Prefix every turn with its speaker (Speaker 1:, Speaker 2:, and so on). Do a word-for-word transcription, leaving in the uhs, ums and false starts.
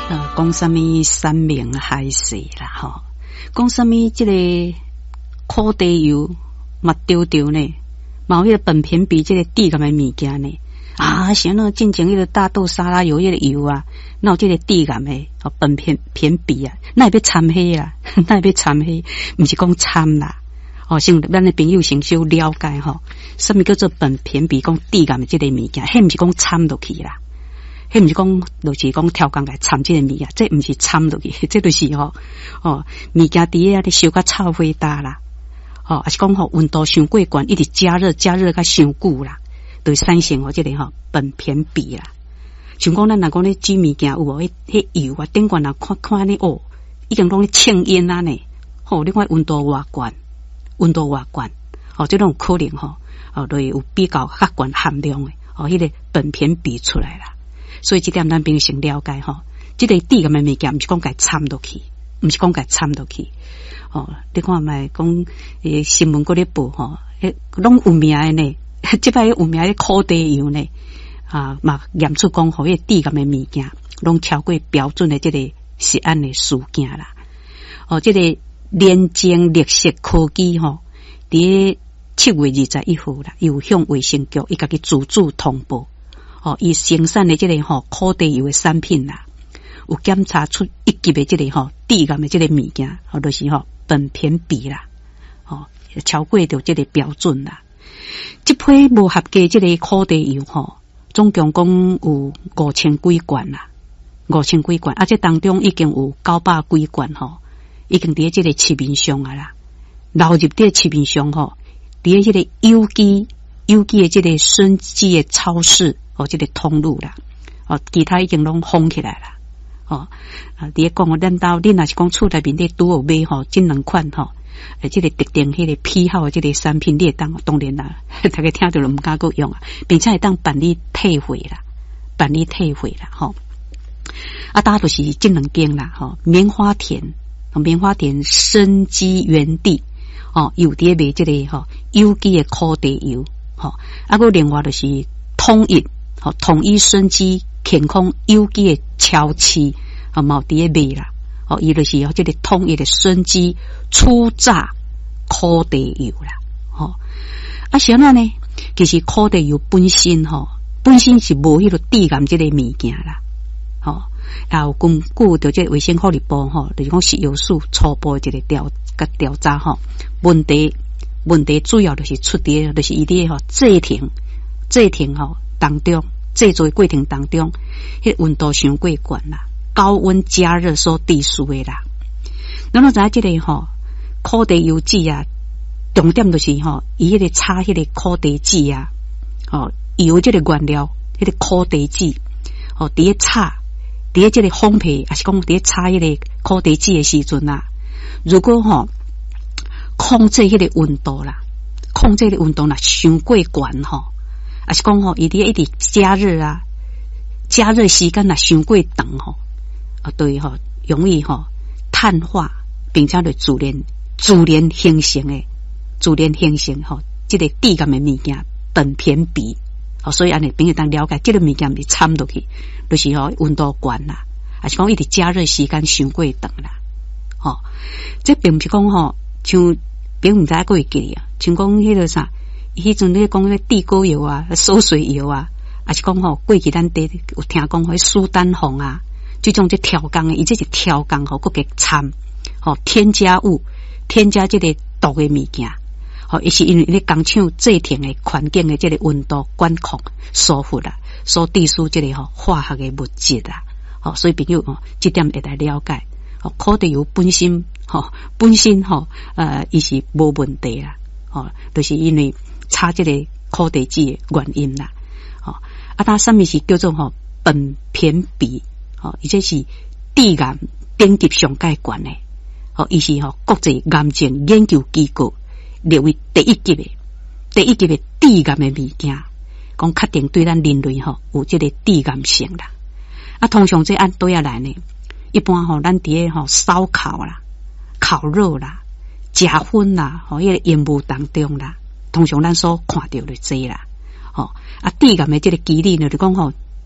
Speaker 1: 呃，講啥物山盟海誓啦，吼，講啥物這個苦茶油嘛著著呢，嘛有彼個苯偏芘這個致癌的物件呢。啊，啥喏，進前彼個大豆沙拉油彼個油啊，哪有這個致癌的哦苯偏偏芘啊？哪會欲摻彼啦？哪會欲摻彼？毋是講摻啦。哦，先咱的朋友先小了解吼，啥物叫做苯偏芘？講致癌的這個物件，彼毋是講摻落去啦。彼毋是講，就是講超工共摻這個物件，這毋是摻落去，這就是吼哦物件佇咧遐咧燒甲臭火焦啦，吼，抑是講吼溫度傷過懸，一直加熱加熱甲傷久啦，就會產生吼這個吼苯偏芘啦。像講咱若講咧煮物件有無？彼彼油啊，頂懸若看看按呢哦，已經攏咧衝煙啊呢，吼，你看溫度偌懸，溫度偌懸，哦，這攏有可能吼，哦，就會有比較較懸含量的，哦，彼個苯偏芘出來啦。所以這點咱必須先了解吼，這個致癌的物件，毋是講共摻落去，毋是講共摻落去。哦，你看覓講，欸，新聞閣咧報吼，彼攏有名的呢，這擺有名的苦茶油呢，啊，嘛驗出講吼，彼個致癌的物件，攏超過標準的這個食安的事件啦。哦，這個聯精綠色科技吼，佇七月二十一號啦，有向衛生局伊家己自主通報。哦，伊生產的這個吼苦茶油的產品啦，有檢查出一級的這個吼致癌的這個物件，吼就是吼苯偏芘啦，吼超過著這個標準啦。這批無合格這個苦茶油吼，總共講有五千幾罐啦，五千幾罐，啊，這當中已經有九百幾罐吼，已經佇這個市面上啊啦，流入佇市面上吼，佇這個有機有機的這個生機的超市。哦，這個通路啦，哦，其他已經攏封起來啦。哦，啊，佇咧講，咱兜恁若是講厝內面咧拄有買吼，這兩款吼，欸，這個特定彼個批號的這個產品，你會當當然啦，大家聽著就毋敢閣用啊，並且會當辦理退貨啦，辦理退貨啦，吼。啊，大就是這兩間啦，吼，棉花田，棉花田生機園地，哦，有佇咧賣這個吼有機的苦茶油，吼，啊，閣另外就是統一。吼，統一生機健康有機的超市，啊，嘛有佇咧賣啦。哦，伊就是吼這個統一的生機初榨苦茶油啦。吼，啊，啥物呢？其實苦茶油本身吼，本身是無彼個致癌這個物件啦。吼，也有根據著這個衛生福利部吼，就是講食藥署初步的一個調佮調查吼，問題問題主要就是出佇就是伊佇吼製程製程吼當中。製作的過程當中，彼溫度傷過懸啦，高溫加熱所致死的啦。咱攏知影這個吼苦茶油脂啊，重點就是吼，伊彼個炒彼個苦茶籽啊，吼油這個原料，彼個苦茶籽，吼佇咧炒，佇咧這個烘焙，抑是講佇咧炒彼個苦茶籽的時陣啊，如果吼控制彼個溫度啦，控制彼個溫度若傷過懸吼。抑是講吼，伊佇一直加熱啊，加熱時間若傷過長吼，啊對吼，容易吼碳化，並且就自然自然形成的，自然形成吼，這個致癌的物件苯偏芘，哦，所以按呢朋友當了解，這個物件毋是摻落去，就是吼溫度懸啦，抑是講一直加熱時間傷過長啦，吼，這並毋是講吼，像並毋知影閣會記啊，像講彼個啥。彼陣咧講彼地溝油啊、餿水油啊，抑是講吼過去咱佇有聽講彼蘇丹紅啊，這種這超工的，伊這是超工吼，閣加摻吼添加物，添加這個毒的物件，吼，伊是因為咧工廠製程的環境的這個溫度管控疏忽啦，所致使這個吼化學的物質啦，吼，所以朋友吼，這點會來了解，吼，苦茶油本身吼本身吼呃，伊是無問題啦，吼，就是因為。炒這個苦茶籽的原因啦，吼啊，它啥物是叫做吼苯偏芘，吼，伊這是致癌等級上蓋懸的，吼，伊是吼國際癌症研究機構列為第一級的，第一級的致癌的物件，講確定對咱人類吼有這個致癌性啦。啊，通常這按佗仔來呢？一般吼，咱佇咧吼燒烤啦、烤肉啦、食薰啦，吼，彼個煙霧當中啦。通常咱所看著就這啦，吼啊，致癌的這個機理呢，就講吼，